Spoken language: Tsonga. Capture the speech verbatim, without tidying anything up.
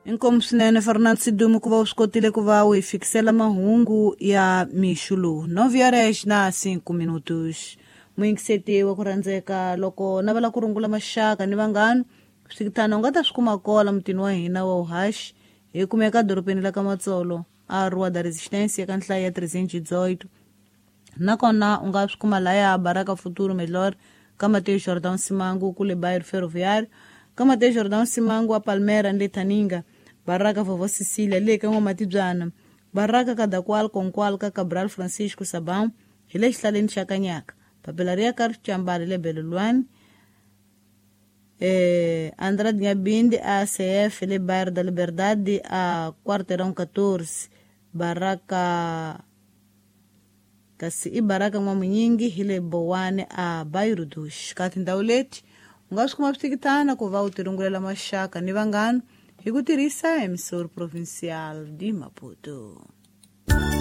Inkomu swinene Fernando Sidumo ku va u swi kotile ku va u hi fikisela mahungu ya mixo lowu nove horas na cinco minutos. Muyingiseti wa ku rhandzeka, loko navela ku rungula maxaka ni vanghana, swikithana u nga ta swi kuma kola mutini wa hina wa uhaxi. Hi kumeka dorobeni la ka Matsolo a Rua da Resistência ka nhlayo ya trezentos e dezoito. Nakona u nga swi kuma laya Baraka Futuro Melhor ka Mateus Jordão Simango kule bairro Ferroviário, ka Mateus Jordão Simango a Palmera ni le Thaninga, Baraka Vovó Cecília le ka N'wamatibyana, Baraka Kadakwal Konkwal ka Cabral Francisco Sabão hi le xihlaleni xa Kanyaka, papila ri ya ka Ricambali le Belelwani, eh, Andrade Ngabindi a C F le bairro da Liberdade a quarteirão catorze, Baraka kasi i Baraka N'wamunyingi hi le Bowane a bairro dos. Ka tindhawu leti u nga swi kuma switikitana ku va u tirungulela maxaka ni vanghana hi ku tirhisa Emissora Provincial de Maputo.